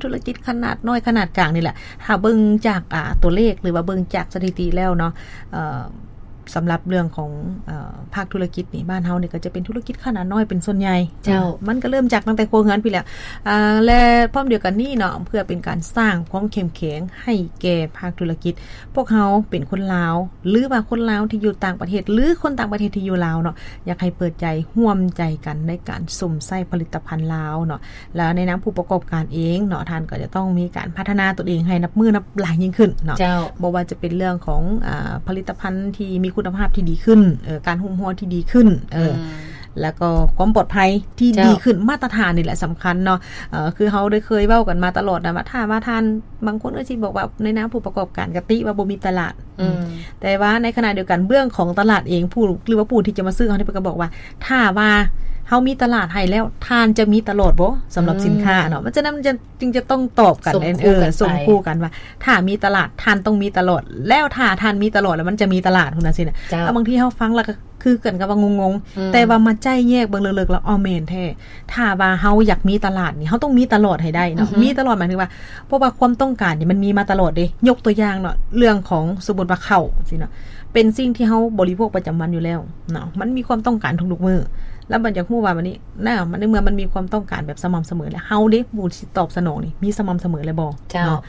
ທຸລະກິດຂະໜາດນ້ອຍຂະໜາດກາງນີ້ແຫຼະ. ຖ້າເບິ່ງຈາກ ອ່າ ຕົວເລກ ຫຼືວ່າເບິ່ງຈາກສະຖິຕິແລ້ວເນາະ ເອີ ສຳລັບເລື່ອງຂອງ ເອີ ພາກທຸລະກິດນີ້ ບ້ານເຮົານີ້ກໍຈະເປັນທຸລະກິດຂະໜາດນ້ອຍເປັນສ່ວນໃຫຍ່. ເຈົ້າ. ມັນກໍເລີ່ມຈາກຕັ້ງແຕ່ຄົວເຮືອນພຸ້ນແຫຼະ. ອາ ແລະ ພ້ອມດຽວກັນນີ້ເນາະ ເພື່ອເປັນການສ້າງຄວາມເຂັ້ມແຂງໃຫ້ແກ່ພາກທຸລະກິດ, ພວກເຮົາເປັນຄົນລາວ ຫຼືວ່າຄົນລາວທີ່ຢູ່ຕ່າງປະເທດ ຫຼືຄົນຕ່າງປະເທດທີ່ຢູ່ລາວເນາະ ຢາກໃຫ້ເປີດໃຈຮ່ວມໃຈກັນໃນການຊົມໃຊ້ຜະລິດຕະພັນລາວເນາະ. ແລ້ວໃນນາມຜູ້ປະກອບການເອງເນາະ ທ່ານກໍຈະຕ້ອງມີການພັດທະນາຕົນເອງໃຫ້ນັບມື້ນັບຫຼາຍຍິ່ງຂຶ້ນເນາະ. ເຈົ້າ. ບໍ່ວ່າຈະເປັນເລື່ອງຂອງ ອາ ຜະລິດຕະພັນທີ່ມີຄຸນນະພາບທີ່ດີຂຶ້ນ, ເອີ ການຫຸ້ມຫົວທີ່ດີຂຶ້ນ, ເອີ ອືມ ແລ້ວກໍຄວາມປອດໄພທີ່ ເຈົ້າ ດີຂຶ້ນ, ມາດຕະຖານນີ້ແຫຼະສຳຄັນເນາະ. ເອີ ຄືເຮົາໄດ້ເຄີຍເວົ້າກັນມາຕະຫຼອດນະວ່າ ຖ້າວ່າທ່ານ ບາງຄົນກໍຊິບອກວ່າໃນນາມຜູ້ປະກອບການກະຕິວ່າບໍ່ມີຕະຫຼາດ, ອືມ ແຕ່ວ່າໃນຂະນະດຽວກັນເບື້ອງຂອງຕະຫຼາດເອງ ຜູ້ ຫຼືວ່າຜູ້ທີ່ຈະມາຊື້ເຮົານີ້ ເພິ່ນກໍບອກວ່າ ຖ້າວ່າເຮົາມີຕະຫຼາດໃຫ້ແລ້ວ ທ່ານຈະມີຕະຫຼອດບໍ່ ສຳລັບ ອືມ ສິນຄ້າເນາະ? ມັນ ສະນັ້ນມັນຈຶ່ງຈະຕ້ອງຕອບກັນ ສົມຄູ່ກັນໄປ ເອີ ສົມຄູ່ກັນວ່າ ຖ້າມີຕະຫຼາດ ທ່ານຕ້ອງມີຕະຫຼອດ, ແລ້ວຖ້າທ່ານມີຕະຫຼອດ ແລ້ວມັນຈະມີຕະຫຼາດ ພຸ້ນນະຊີ້ນະ. ເຈົ້າ. ແລ້ວບາງທີເຮົາຟັງແລ້ວກໍຄືກັນກັບວ່າງົງໆ, ອືມ ແຕ່ວ່າມາໄຈ້ແຍກເບິ່ງເລິກໆແລ້ວ ເອົາ ແມ່ນແທ້. ຖ້າວ່າເຮົາຢາກມີຕະຫຼາດນີ້ ເຮົາຕ້ອງມີຕະຫຼອດໃຫ້ໄດ້ເນາະ. ອືຮຶ. ມີຕະຫຼອດໝາຍເຖິງວ່າ ເພາະວ່າຄວາມຕ້ອງການນີ້ມັນມີມາຕະຫຼອດເດ້. ຍົກຕົວຢ່າງເນາະ ເລື່ອງຂອງ ສົມມຸດວ່າເຂົ້າຊີ້ເນາະ ເປັນສິ່ງທີ່ເຮົາບໍລິໂພກປະຈຳວັນຢູ່ແລ້ວເນາະ, ມັນມີຄວາມຕ້ອງການທຸກໆມື້. ແລ້ວບັດຢາກຮູ້ວ່າບັດນີ້ນະ ໃນເມື່ອມັນມີຄວາມຕ້ອງການແບບສະໝ່ຳສະເໝີແລ້ວ ເຮົາເດ້ ຜູ້ທີ່ຕອບສະໜອງນີ້ ມີສະໝ່ຳສະເໝີແລ້ວບໍ່? ເຈົ້າ. ເນາະ.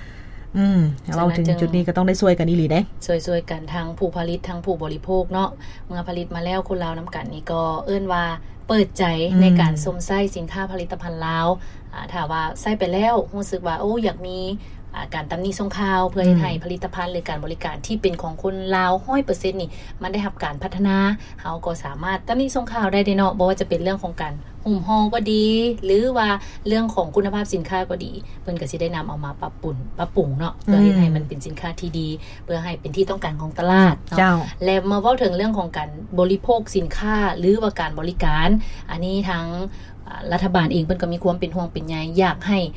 ອືມ ເວົ້າເຖິງຈຸດນີ້ກໍຕ້ອງໄດ້ຊ່ວຍກັນອີ່ຫຼີເດ້. ຊ່ວຍໆກັນ ທັງຜູ້ຜະລິດ ທັງຜູ້ບໍລິໂພກເນາະ. ເມື່ອຜະລິດມາແລ້ວ ຄົນລາວນຳກັນນີ້ກໍເອີ້ນວ່າເປີດໃຈ ອືມ ໃນການຊົມໃຊ້ສິນຄ້າຜະລິດຕະພັນລາວ. ອາ ຖ້າວ່າໃຊ້ໄປແລ້ວ ຮູ້ສຶກວ່າ ໂອ້ ຢາກມີ ອາ ການຕຳໜິສົ່ງຂ່າວ ເພື່ອເຮັດໃຫ້ ອືມ ຜະລິດຕະພັນ ຫຼື ການບໍລິການທີ່ເປັນຂອງຄົນລາວຮ້ອຍເປີເຊັນນີ້ ມັນໄດ້ຮັບການພັດທະນາ, ເຮົາກໍສາມາດຕຳໜິສົ່ງຂ່າວໄດ້ເດ້ເນາະ. ບໍ່ວ່າຈະເປັນເລື່ອງຂອງການ ຫຸ້ມຫໍ່ກໍດີ ຫຼືວ່າເລື່ອງຂອງຄຸນນະພາບສິນຄ້າກໍດີ ເພິ່ນກໍຊິໄດ້ນຳເອົາມາປັບປຸງ ປັບປຸງເນາະ ເພື່ອເຮັດໃຫ້ມັນເປັນສິນຄ້າທີ່ດີ ອືມ ເພື່ອໃຫ້ເປັນທີ່ຕ້ອງການຂອງຕະຫຼາດເນາະ. ເຈົ້າ. ແລະ ມາເວົ້າເຖິງເລື່ອງຂອງການບໍລິໂພກສິນຄ້າ ຫຼືວ່າການບໍລິການ, ອັນນີ້ທາງ ອາ ລັດຖະບານເອງເພິ່ນກໍມີຄວາມເປັນຫ່ວງເປັນໃຍ ຢາກໃຫ້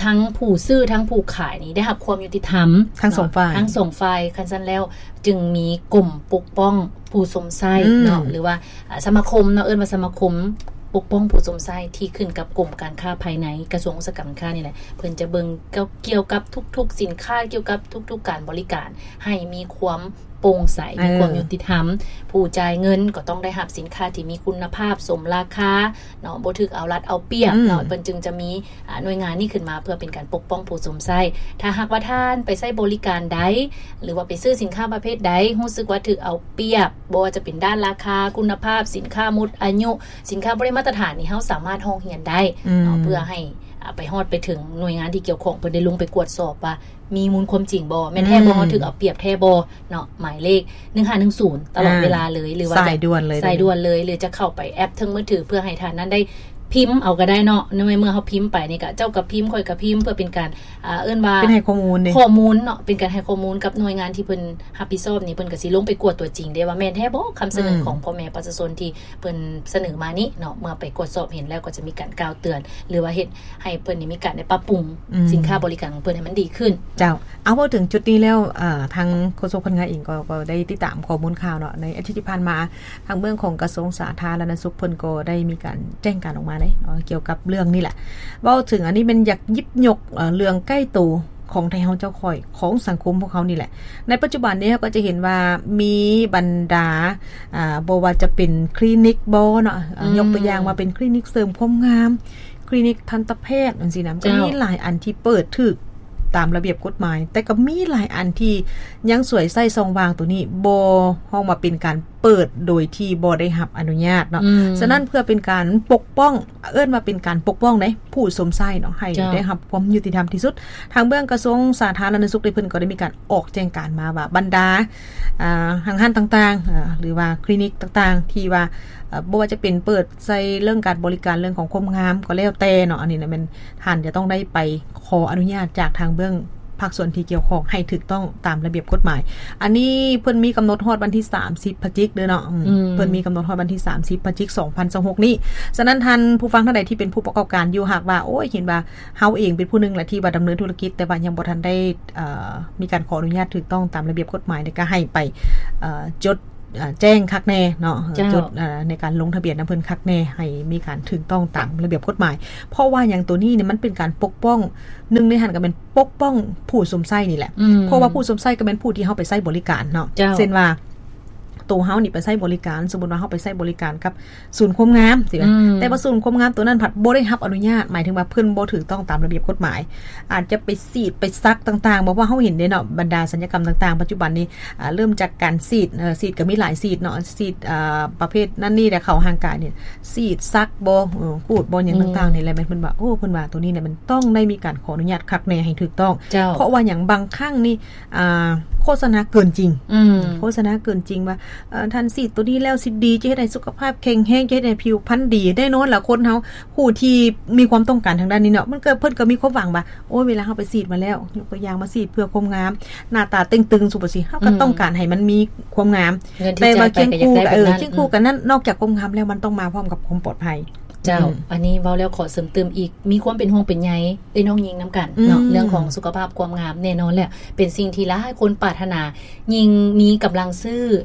ທັງຜູ້ຊື້ທັງຜູ້ຂາຍນີ້ໄດ້ຮັບຄວາມຍຸຕິທຳ ທັງສອງ ເນາະ ຝ່າຍ ທັງສອງຝ່າຍ. ຄັນຊັ້ນແລ້ວຈຶ່ງມີກົມປົກປ້ອງຜູ້ຊົມໃຊ້ ອືມ ເນາະ ຫຼືວ່າ ອາ ສະມາຄົມເນາະ ເອີ້ນວ່າສະມາຄົມປົກປ້ອງຜູ້ຊົມໃຊ້ ທີ່ຂຶ້ນກັບກົມການຄ້າພາຍໃນ ກະຊວງອຸດສາຫະກຳການຄ້ານີ້ແຫຼະ ເພິ່ນຈະເບິ່ງກ່ຽວກັບທຸກໆສິນຄ້າ ກ່ຽວກັບທຸກໆການບໍລິການ ໃຫ້ມີຄວາມ ໂປ່ງໃສ ເອີ ມີຄວາມຍຸຕິທຳ, ຜູ້ຈ່າຍເງິນກໍຕ້ອງໄດ້ຮັບສິນຄ້າທີ່ມີຄຸນນະພາບ ສົມລາຄາເນາະ, ບໍ່ຖືກເອົາລັດເອົາປຽບເນາະ, ອືມ ເພິ່ນຈຶ່ງຈະມີ ອາ ໜ່ວຍງານນີ້ຂຶ້ນມາເພື່ອເປັນການປົກປ້ອງຜູ້ຊົມໃຊ້. ຖ້າຫາກວ່າທ່ານໄປໃຊ້ບໍລິການໃດ ຫຼືວ່າໄປຊື້ສິນຄ້າປະເພດໃດ ຮູ້ສຶກວ່າຖືກເອົາປຽບ, ບໍ່ວ່າຈະເປັນດ້ານລາຄາ, ຄຸນນະພາບ, ສິນຄ້າໝົດອາຍຸ, ສິນຄ້າບໍ່ໄດ້ມາດຕະຖານນີ້, ເຮົາສາມາດຮ້ອງຮຽນໄດ້ເນາະ, ອືມ ເພື່ອໃຫ້ ອາ ໄປຮອດໄປເຖິງໜ່ວຍງານທີ່ກ່ຽວຂ້ອງ ເພິ່ນໄດ້ລົງໄປກວດສອບວ່າ ມີມູນຄວາມຈິງບໍ່ ແມ່ນແທ້ບໍ່ ອືມ ເຮົາຖືກເອົາປຽບແທ້ບໍ່ເນາະ. ໝາຍເລກໜຶ່ງຫ້າໜຶ່ງສູນ ຕະຫຼອດ ອ່າ ເວລາເລີຍ ຫຼືວ່າ ສາຍດ່ວນເລີຍ ສາຍດ່ວນເລີຍ ຫຼືຈະເຂົ້າໄປແອັບເທິງມືຖື ເພື່ອໃຫ້ທ່ານນັ້ນໄດ້ພິມເອົາກໍໄດ້ເນາະ. ໃນເມື່ອເຮົາພິມໄປນີ້ກະ ເຈົ້າກໍພິມ ຂ້ອຍກໍພິມ ເພື່ອເປັນການ ອ່າ ເອີ້ນວ່າ ເປັນໃຫ້ຂໍ້ມູນເດ້ ຂໍ້ມູນເນາະ ເປັນການໃຫ້ຂໍ້ມູນກັບໜ່ວຍງານທີ່ເພິ່ນຮັບຜິດຊອບນີ້ ເພິ່ນກໍຊິລົງໄປກວດຕົວຈິງເດ້ວ່າແມ່ນແທ້ບໍ່ ຄຳສະເໜີ ອືມ ຂອງພໍ່ແມ່ປະຊາຊົນທີ່ເພິ່ນສະເໜີມານີ້ເນາະ. ເມື່ອໄປກວດສອບເຫັນແລ້ວ ກໍຈະມີການກ່າວເຕືອນ ຫຼືວ່າເຮັດ ໃຫ້ເພິ່ນນີ້ມີການໄດ້ປັບປຸງ ອືມ ສິນຄ້າບໍລິການຂອງເພິ່ນໃຫ້ມັນດີຂຶ້ນ. ເຈົ້າ ເອົາ ເວົ້າເຖິງຈຸດນີ້ແລ້ວ ເອີ ທາງໂຄສົກພະນັກງານເອງກໍ ກໍໄດ້ຕິດຕາມຂໍ້ມູນຂ່າວເນາະ ໃນອາທິດທີ່ຜ່ານມາ ທາງເບື້ອງຂອງກະຊວງສາທາລະນະສຸກ ເພິ່ນກໍໄດ້ມີການແຈ້ງການອອກມາເດ້ເນາະ ກ່ຽວກັບເລື່ອງນີ້ແຫຼະ. ເວົ້າເຖິງອັນນີ້ແມ່ນຢາກຫຍິບຍົກ ເອີ ເລື່ອງໃກ້ໂຕຂອງໄທເຮົາເຈົ້າຂ້ອຍ ຂອງສັງຄົມພວກເຮົານີ້ແຫຼະ. ໃນປັດຈຸບັນນີ້ເຮົາກໍຈະເຫັນວ່າມີບັນດາ ອ່າ ບໍ່ວ່າຈະເປັນຄລີນິກບໍ່ເນາະ ອ່າ ອືມ ຍົກຕົວຢ່າງວ່າເປັນຄລີນິກເສີມຄວາມງາມ ຄລີນິກທັນຕະແພດຈັ່ງຊີ້ນະ ມັນກໍ ເຈົ້າ ມີຫຼາຍອັນທີ່ເປີດຖືກຕາມລະບຽບກົດໝາຍ ແຕ່ກໍມີຫຼາຍອັນທີ່ຍັງສວຍໃຊ້ຊ່ອງວ່າງໂຕນີ້ ບໍ່ ເຮົາວ່າເປັນການເປີດໂດຍທີ່ບໍ່ໄດ້ຮັບອະນຸຍາດເນາະ. ອືມ ສະນັ້ນເພື່ອເປັນການປົກປ້ອງ ເອີ້ນວ່າເປັນການປົກປ້ອງເດ້ ຜູ້ຊົມໃຊ້ເນາະ ໃຫ້ ເຈົ້າ ໄດ້ຮັບຄວາມຍຸຕິທຳທີ່ສຸດ ທາງເບື້ອງກະຊວງສາທາລະນະສຸກເດ້ ເພິ່ນກໍໄດ້ມີການອອກແຈ້ງການມາວ່າ ບັນດາ ອ່າ ຫ້າງຮ້ານຕ່າງໆ ອ່າ ຫຼືວ່າຄລີນິກຕ່າງໆ ທີ່ວ່າ ເອີ ບໍ່ວ່າຈະເປັນເປີດໃສ່ເລື່ອງການບໍລິການ ເລື່ອງຂອງຄວາມງາມກໍແລ້ວແຕ່ເນາະ ອັນນີ້ນະແມ່ນທ່ານຈະຕ້ອງໄດ້ໄປຂໍອະນຸຍາດຈາກທາງເບື້ອງພາກສ່ວນທີ່ກ່ຽວຂ້ອງໃຫ້ຖືກຕ້ອງຕາມລະບຽບກົດໝາຍ. ອັນນີ້ເພິ່ນມີກຳນົດຮອດວັນທີສາມສິບພະຈິກເດີເນາະ ອືມ ອືມ ເພິ່ນມີກຳນົດຮອດວັນທີສາມສິບພະຈິກສອງພັນຊາວຫົກນີ້. ສະນັ້ນທ່ານຜູ້ຟັງທ່ານໃດທີ່ເປັນຜູ້ປະກອບການຢູ່ ຫາກວ່າ ໂອ້ຍ ເຫັນວ່າເຮົາເອງເປັນຜູ້ໜຶ່ງລະທີ່ວ່າດຳເນີນທຸລະກິດ ແຕ່ວ່າຍັງບໍ່ທັນໄດ້ ເອີ ມີການຂໍອະນຸຍາດຖືກຕ້ອງຕາມລະບຽບກົດໝາຍ ແລ້ວກໍໃຫ້ໄປ ເອີ ຈົດ ອ່າ ແຈ້ງຄັກແນ່ເນາະ ເຈົ້າ ຈຸດ ອ່າ ໃນການລົງທະບຽນນຳເພິ່ນຄັກແນ່ ໃຫ້ມີການຖືກຕ້ອງຕາມລະບຽບກົດໝາຍ. ເພາະວ່າຫຍັງ? ໂຕນີ້ນີ້ມັນເປັນການປົກປ້ອງ ໜຶ່ງໃນຫັ້ນກໍແມ່ນປົກປ້ອງຜູ້ຊົມໃຊ້ນີ້ແຫຼະ ອືມ ເພາະວ່າຜູ້ຊົມໃຊ້ກໍແມ່ນຜູ້ທີ່ເຮົາໄປໃຊ້ບໍລິການເນາະ ເຈົ້າ ເຊັ່ນວ່າ ໂຕເຮົານີ້ໄປໃຊ້ບໍລິການ ສົມມຸດວ່າເຮົາໄປໃຊ້ບໍລິການກັບສູນຄວາມງາມຊີ້ນະ ອືມ ແຕ່ວ່າສູນຄວາມງາມໂຕນັ້ນພັດບໍ່ໄດ້ຮັບອະນຸຍາດ ໝາຍເຖິງວ່າເພິ່ນບໍ່ຖືກຕ້ອງຕາມລະບຽບກົດໝາຍ ອາດຈະໄປສີດໄປສັກຕ່າງໆ ເພາະວ່າເຮົາເຫັນເດ້ເນາະ ບັນດາສັນຍະກຳຕ່າງໆ ປັດຈຸບັນນີ້ ອ່າ ເລີ່ມຈາກການສີດ ເອີ ສີດກໍມີຫຼາຍສີດເນາະ ສີດ ອ່າ ປະເພດນັ້ນນີ້ແຫຼະ ເຂົ້າຮ່າງກາຍນີ້ ສີດສັກບໍ່ ເອີ ຂູດບໍ່ ຫຍັງ ອືມ ຕ່າງໆ ນີ້ແຫຼະ ແມ່ນເພິ່ນວ່າ ໂອ້ ເພິ່ນວ່າໂຕນີ້ນະ ມັນຕ້ອງໄດ້ມີການຂໍອະນຸຍາດຄັກແນ່ໃຫ້ຖືກຕ້ອງ ເຈົ້າ ເພາະວ່າຫຍັງ? ບາງຄັ້ງນີ້ ອ່າ ໂຄສະນາເກີນຈິງ ອືມ ໂຄສະນາເກີນຈິງວ່າ ເອີ ທ່ານສີດໂຕນີ້ແລ້ວຊິດີ ຈະເຮັດໃຫ້ສຸຂະພາບແຂງແຮງ ຈະເຮັດໃຫ້ຜິວພັນດີ. ແນ່ນອນລະ ຄົນເຮົາຜູ້ທີ່ມີຄວາມຕ້ອງການທາງດ້ານນີ້ເນາະ ມັນກໍ ເພິ່ນກໍມີຄວາມຫວັງວ່າ ໂອ້ຍ ເວລາເຮົາໄປສີດມາແລ້ວ ຍົກຕົວຢ່າງວ່າສີດເພື່ອຄວາມງາມ ໜ້າຕາເຕ່ງຕຶງ ສົມມຸດຊີ້ ເຮົາກໍ ອືມ ຕ້ອງການໃຫ້ມັນມີຄວາມງາມ ແຕ່ວ່າຄຽງຄູ່ກັນ ເອີ ຄຽງຄູ່ກັນນັ້ນ ອືມ ນອກຈາກຄວາມງາມແລ້ວ ມັນຕ້ອງມາພ້ອມກັບຄວາມປອດໄພ. ເຈົ້າ ອືມ ອັນນີ້ເວົ້າແລ້ວຂໍເສີມຕື່ມອີກ ມີຄວາມເປັນຫ່ວງເປັນໃຍເອື້ອຍນ້ອງຍິງນຳກັນເນາະ ອືມ ເລື່ອງຂອງສຸຂະພາບຄວາມງາມ. ແນ່ນອນແຫຼະ ເປັນສິ່ງທີ່ຫຼາຍຄົນປາດຖະໜາ ຍິ່ງມີກຳລັງຊື້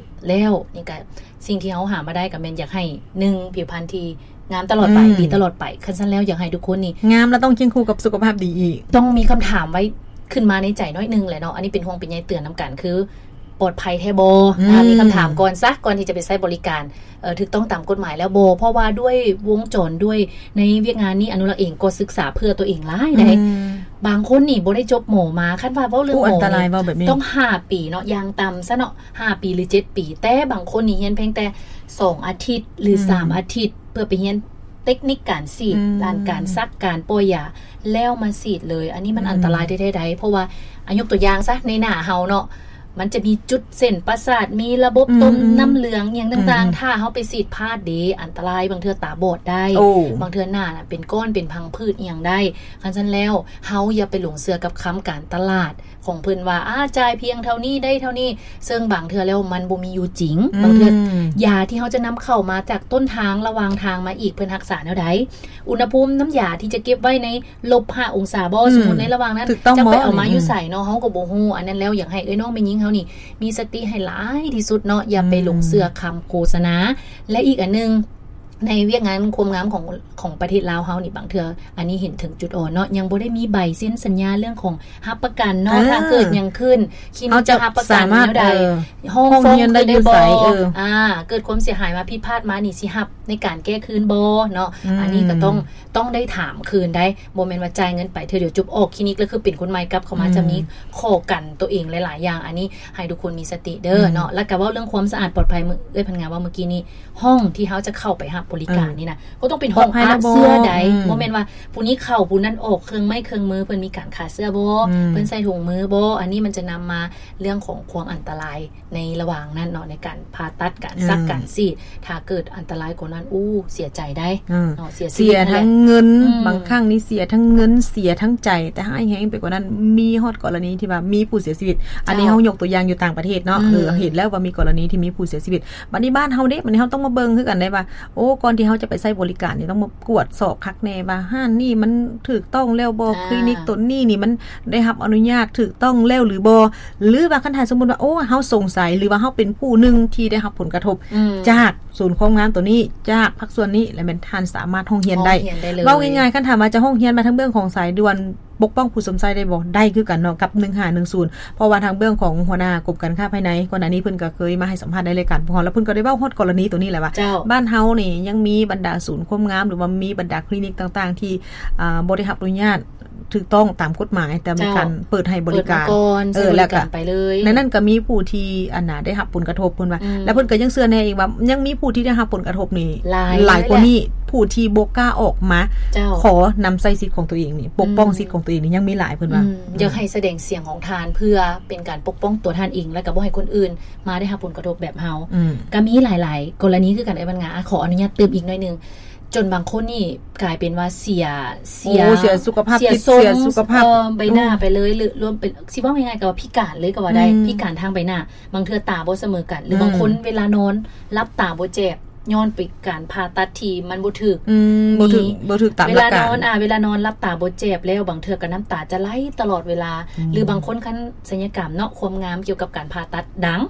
ແລ້ວ ນີ້ກະ ສິ່ງທີ່ເຮົາຫາມາໄດ້ກໍແມ່ນຢາກໃຫ້ ໜຶ່ງ ຜິວພັນທີ່ງາມຕະຫຼອດໄປ ອືມ ດີຕະຫຼອດໄປ. ຄັນຊັ້ນແລ້ວ ຢາກໃຫ້ທຸກຄົນນີ້ ງາມແລ້ວຕ້ອງຄຽງຄູ່ກັບສຸຂະພາບດີອີກ. ຕ້ອງມີຄຳຖາມໄວ້ຂຶ້ນມາໃນໃຈໜ້ອຍໜຶ່ງແຫຼະເນາະ ອັນນີ້ເປັນຫ່ວງເປັນໃຍເຕືອນນຳກັນ ຄື ປອດໄພແທ້ບໍ່? ອືມ ອ່າ ມີຄຳຖາມກ່ອນຊະ ກ່ອນທີ່ຈະໄປໃຊ້ບໍລິການ ເອີ ຖືກຕ້ອງຕາມກົດໝາຍແລ້ວບໍ່? ເພາະວ່າດ້ວຍວົງຈອນ ດ້ວຍໃນວຽກງານນີ້ ອະນຸລັກເອງກໍສຶກສາເພື່ອຕົວເອງຫຼາຍໃດ໋. ອືມ ບາງຄົນນີ້ບໍ່ໄດ້ຈົບໝໍມາ ຄັນວ່າເວົ້າເລື່ອງໝໍນີ້ ໂອ້ ອັນຕະລາຍ ເວົ້າແບບນີ້ ຕ້ອງຫ້າປີເນາະ ຢ່າງຕ່ຳຊະເນາະ ຫ້າປີ ຫຼື ເຈັດປີ ແຕ່ບາງຄົນນີ້ຮຽນພຽງແຕ່ສອງອາທິດ ຫຼື ອືມ ສາມອາທິດ ເພື່ອໄປຮຽນເຕັກນິກການສີດ ອືມ ດ້ານການສັກ ການປ້ອຍຢາ ແລ້ວມາສີດເລີຍ. ອັນນີ້ມັນ ອືມ ອັນຕະລາຍແທ້ໆໃດ໋ ເພາະວ່າ ອາ ຍົກຕົວຢ່າງຊະ ໃນໜ້າເຮົາເນາະ ມັນຈະມີຈຸດເສັ້ນປະສາດ ມີລະບົບຕົມ ອືມ ນ້ຳເຫຼືອງ ອີ່ຫຍັງຕ່າງໆ ອືມ ຖ້າເຮົາໄປສີດພາດເດ ອັນຕະລາຍ ບາງເທື່ອຕາບອດໄດ້ ໂອ້ ບາງເທື່ອໜ້ານະເປັນກ້ອນ ເປັນພັງຜືດ ອີ່ຫຍັງໄດ້. ຄັນຊັ້ນແລ້ວ ເຮົາຢ່າໄປຫຼົງເຊື່ອກັບຄຳການຕະຫຼາດຂອງເພິ່ນວ່າ ອາ ຈ່າຍພຽງເທົ່ານີ້ໄດ້ເທົ່ານີ້ ເຊິ່ງບາງເທື່ອແລ້ວມັນບໍ່ມີຢູ່ຈິງ. ອືມ ບາງເທື່ອຢາທີ່ເຮົາຈະນຳເຂົ້າມາຈາກຕົ້ນທາງ ລະຫວ່າງທາງມາອີກ ເພິ່ນຮັກສາແນວໃດ? ອຸນຫະພູມນ້ຳຢາທີ່ຈະເກັບໄວ້ໃນ ລົບຫ້າອົງສາບໍ່? ອືມ ສົມມຸດໃນລະຫວ່າງນັ້ນ ຖືກຕ້ອງບໍ່? ຈັກໄປເອົາມາຢູ່ໃສເນາະ ອືມ ເຮົາກໍບໍ່ຮູ້. ອັນນັ້ນແລ້ວ ຢາກໃຫ້ເອື້ອຍນ້ອງແມ່ຍິງເຮົານີ້ ມີສະຕິໃຫ້ຫຼາຍທີ່ສຸດເນາະ ຢ່າໄປ ອືມ ຫຼົງເຊື່ອຄຳໂຄສະນາ. ແລະ ອີກອັນໜຶ່ງ ໃນວຽກງານຄວາມງາມຂອງ ຂອງປະເທດລາວເຮົານີ້ ບາງເທື່ອ ອັນນີ້ເຫັນເຖິງຈຸດອ່ອນເນາະ ຍັງບໍ່ໄດ້ມີໃບເຊັນສັນຍາເລື່ອງຂອງຮັບປະກັນເນາະ ເອີ ຖ້າເກີດຫຍັງຂຶ້ນ ຄລີນິກຈະຮັບປະກັນແນວໃດ? ເອີ ຫ້ອງ ຫ້ອງຮຽນໄດ້ຢູ່ໃສ? ເອີ ອາ ເກີດຄວາມເສຍຫາຍມາ ຜິດພາດມານີ້ ຊິຮັບໃນການແກ້ຄືນບໍ່ເນາະ? ອືມ ອັນນີ້ກໍຕ້ອງ ຕ້ອງໄດ້ຖາມຄືນໄດ໋ ບໍ່ແມ່ນວ່າຈ່າຍເງິນໄປເທື່ອດຽວຈົບ ອອກຄລີນິກແລ້ວຄືເປັນຄົນໃໝ່ກັບເຂົ້າມາ ອືມ ຈະມີຂໍ້ກັນຕົວເອງຫຼາຍໆຢ່າງ. ອັນນີ້ໃຫ້ທຸກຄົນມີສະຕິເດີ ອືມ ເນາະ. ແລ້ວກໍເວົ້າເລື່ອງຄວາມສະອາດປອດໄພ ເອື້ອຍພັນງາເວົ້າເມື່ອກີ້ນີ້ ຫ້ອງທີ່ເຮົາຈະເຂົ້າໄປຮັບບໍລິການ ເອີ ນີ້ນະ ກໍຕ້ອງເປັນຫ້ອງອັດເຊື້ອໃດ໋ ບໍ່ແມ່ນວ່າຜູ້ນີ້ເຂົ້າຜູ້ນັ້ນອອກ ເຄື່ອງໄມ້ເຄື່ອງມືເພິ່ນມີການຂ້າເຊື້ອບໍ່? ອືມ ເພິ່ນໃສ່ຖົງມືບໍ່? ອັນນີ້ມັນຈະນຳມາເລື່ອງຂອງຄວາມອັນຕະລາຍ ໃນລະຫວ່າງນັ້ນເນາະ ໃນການຜ່າຕັດ ການສັກ ອືມ ການສີດ ຖ້າເກີດອັນຕະລາຍກວ່ານັ້ນ ໂອ້ ເສຍໃຈໄດ໋ ອືມ ເນາະ ເສຍຊີວິດ ເສຍທັງເງິນ ອືມ ບາງຄັ້ງນີ້ເສຍທັງເງິນ ເສຍທັງໃຈ ແຕ່ຮ້າຍແຮງໄປກວ່ານັ້ນ ມີຮອດກໍລະນີທີ່ວ່າມີຜູ້ເສຍຊີວິດ ເຈົ້າ ອັນນີ້ເຮົາຍົກຕົວຢ່າງຢູ່ຕ່າງປະເທດເນາະ ອືມ ເອີ ເຫັນແລ້ວວ່າມີກໍລະນີທີ່ມີຜູ້ເສຍຊີວິດ. ບັດນີ້ບ້ານເຮົາເດ້ ບັດນີ້ເຮົາຕ້ອງມາເບິ່ງຄືກັນໄດ໋ວ່າ ໂອ້ ກ່ອນທີ່ເຮົາຈະໄປໃຊ້ບໍລິການນີ້ ຕ້ອງມາກວດສອບຄັກແນ່ວ່າຮ້ານນີ້ມັນຖືກຕ້ອງແລ້ວບໍ່? ອາ ຄລີນິກຕົນນີ້ນີ້ມັນໄດ້ຮັບອະນຸຍາດຖືກຕ້ອງແລ້ວຫຼືບໍ່? ຫຼືວ່າຄັນຖ້າສົມມຸດວ່າ ໂອ້ ເຮົາສົງໄສ ຫຼືວ່າເຮົາເປັນຜູ້ໜຶ່ງທີ່ໄດ້ຮັບຜົນກະທົບ ອືມ ຈາກສູນຄວາມງາມໂຕນີ້ ຈາກພາກສ່ວນນີ້ ແລ້ວແມ່ນທ່ານສາມາດຮ້ອງຮຽນໄດ້ ຮ້ອງຮຽນໄດ້ເລີຍ. ເວົ້າງ່າຍໆ ຄັນຖາມວ່າຈະຮ້ອງຮຽນມາທາງເບື້ອງຂອງສາຍດ່ວນປົກປ້ອງຜູ້ຊົມໃຊ້ໄດ້ບໍ່? ໄດ້ຄືກັນເນາະ ກັບໜຶ່ງຫ້າໜຶ່ງສູນ ເພາະວ່າທາງເບື້ອງຂອງຫົວໜ້າກົມການຄ້າພາຍໃນ ກ່ອນໜ້ານີ້ເພິ່ນກໍເຄີຍມາໃຫ້ສຳພາດໃນລາຍການຂອງເຮົາ ແລ້ວເພິ່ນກໍໄດ້ເວົ້າຮອດກໍລະນີໂຕນີ້ແຫຼະວ່າ ເຈົ້າ ບ້ານເຮົານີ້ຍັງມີບັນດາສູນຄວາມງາມ ຫຼືວ່າມີບັນດາຄລີນິກຕ່າງໆທີ່ ອ່າ ບໍ່ໄດ້ຮັບອະນຸຍາດ ຖືກຕ້ອງຕາມກົດໝາຍ ແຕ່ມີ ເຈົ້າ ການເປີດໃຫ້ບໍລິການ ເປີດມາກ່ອນ ເອີ ໃຊ້ບໍລິການໄປເລີຍ ແລ້ວກໍໃນນັ້ນກໍມີຜູ້ທີ່ ອັນນ່າ ໄດ້ຮັບຜົນກະທົບເພິ່ນວ່າ ອືມ ແລ້ວເພິ່ນກໍຍັງເຊື່ອແນ່ອີກວ່າ ຍັງມີຜູ້ທີ່ໄດ້ຮັບຜົນກະທົບນີ້ຫຼາຍ ຫຼາຍກວ່ານີ້ ຜູ້ທີ່ບໍ່ກ້າອອກມາ ເຈົ້າ ຂໍນຳໃຊ້ສິດຂອງຕົວເອງນີ້ ປົກປ້ອງ ອືມ ສິດຂອງຕົວເອງນີ້ ຍັງມີຫຼາຍເພິ່ນວ່າ ອືມ ອືມ ຢາກໃຫ້ສະແດງສຽງຂອງທ່ານ ເພື່ອເປັນການປົກປ້ອງຕົວທ່ານເອງ ແລ້ວກໍບໍ່ໃຫ້ຄົນອື່ນມາໄດ້ຮັບຜົນກະທົບແບບເຮົາ ອືມ ກໍມີຫຼາຍໆກໍລະນີຄືກັນ ເອີຍ ບັນງາ ອາ ຂໍອະນຸຍາດຕື່ມອີກໜ້ອຍໜຶ່ງ ຈົນບາງຄົນນີ້ກາຍເປັນວ່າເສຍ ເສຍ ໂອ້ ເສຍສຸຂະພາບຈິດ ເສຍຊົງ ເສຍສຸຂະພາບ ເອີ ໃບໜ້າ ອືມ ໄປເລີຍ ຫຼື ລວມເປັນ ຊິເວົ້າງ່າຍໆກໍວ່າພິການເລີຍກໍວ່າໄດ້ ອືມ ພິການທາງໃບໜ້າ ບາງເທື່ອຕາບໍ່ສະເໝີກັນ ຫຼື ອືມ ບາງຄົນເວລານອນຫຼັບຕາບໍ່ແຈບ ຍ້ອນໄປການຜ່າຕັດທີ່ມັນບໍ່ຖືກ ອືມ ບໍ່ຖືກ ມີ ບໍ່ຖືກຕາມຫຼັກການ ເວລານອນ ອາ ເວລານອນຫຼັບຕາບໍ່ແຈບແລ້ວ ບາງເທື່ອກໍນ້ຳຕາຈະໄຫຼຕະຫຼອດເວລາ ອືມ ຫຼື ບາງຄົນຄັນສັນຍະກຳເນາະ ຄວາມງາມກ່ຽວກັບການຜ່າຕັດດັງ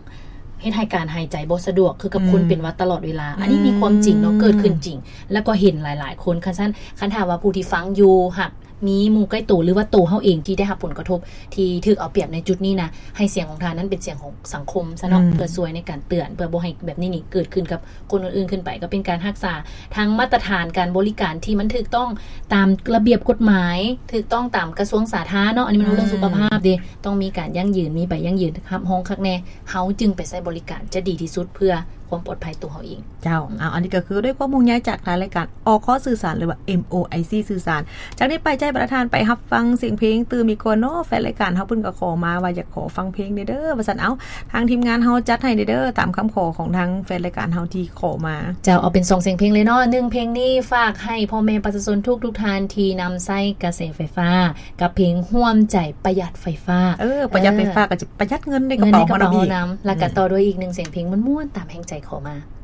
ເຮັດໃຫ້ການຫາຍໃຈບໍ່ສະດວກ ຄືກັບ ອືມ ຄົນເປັນຫວັດຕະຫຼອດເວລາ. ອືມ ອັນນີ້ມີຄວາມຈິງເນາະ ເກີດຂຶ້ນຈິງ ແລ້ວກໍເຫັນຫຼາຍໆຄົນ. ຄັນຊັ້ນ ຄັນຖ້າວ່າຜູ້ທີ່ຟັງຢູ່ ຫາກມີໝູ່ໃກ້ໂຕ ຫຼືວ່າໂຕເຮົາເອງທີ່ໄດ້ຮັບຜົນກະທົບ ທີ່ຖືກເອົາປຽບໃນຈຸດນີ້ນະ ໃຫ້ສຽງຂອງທ່ານນັ້ນເປັນສຽງຂອງສັງຄົມຊະເນາະ ອືມ ເພື່ອຊ່ວຍໃນການເຕືອນ ເພື່ອບໍ່ໃຫ້ແບບນີ້ນີ້ເກີດຂຶ້ນກັບຄົນອື່ນໆຂຶ້ນໄປ. ກໍເປັນການຮັກສາທາງມາດຕະຖານການບໍລິການທີ່ມັນຖືກຕ້ອງຕາມລະບຽບກົດໝາຍ, ຖືກຕ້ອງຕາມກະຊວງສາທາເນາະ. ອັນນີ້ມັນເລື່ອງ ອືມ ສຸຂະພາບເດ້, ຕ້ອງມີການຢັ້ງຢືນ, ມີໃບຢັ້ງຢືນຮັບຮອງຄັກແນ່. ເຮົາຈຶ່ງໄປໃຊ້ບໍລິການຈະດີທີ່ສຸດເພື່ອຄວາມປອດໄພຕົວເຮົາເອງ. ເຈົ້າ ອືມ ເອົາ ອັນນີ້ກໍຄືດ້ວຍຄວາມຫ່ວງໃຍຈາກທາງລາຍການ ອອກຂໍ້ສື່ສານ ຫຼືວ່າ ເອັມ ໂອ ໄອ ສີ່ ສື່ສານ. ຈາກນີ້ໄປ ໃຈປະທານໄປຮັບຟັງສຽງເພງຕື່ມອີກກ່ອນເນາະ. ແຟນລາຍການເຮົາເພິ່ນກໍຂໍມາວ່າ ຢາກຂໍຟັງເພງແດ່ເດີ ວ່າຊັ້ນ. ເອົາ ທາງທີມງານເຮົາຈັດໃຫ້ແດ່ເດີ ຕາມຄຳຂໍຂອງທາງແຟນລາຍການເຮົາທີ່ຂໍມາ. ເຈົ້າ ເອົາເປັນສອງສຽງເພງເລີຍເນາະ. ໜຶ່ງເພງນີ້ຝາກໃຫ້ພໍ່ແມ່ປະຊາຊົນທຸກໆທ່ານທີ່ນຳໃຊ້ກະແສໄຟຟ້າ ກັບເພງຮ່ວມໃຈປະຢັດໄຟຟ້າ. ເອີ ປະຢັດໄຟຟ້າ ເອີ ກໍຈະປະຢັດເງິນໃນກະເປົາເຮົານຳອີກ. ແລ້ວກໍຕໍ່ດ້ວຍອີກໜຶ່ງສຽງເພງມ່ວນໆ ຕາມແຮງໃຈຂໍມາ.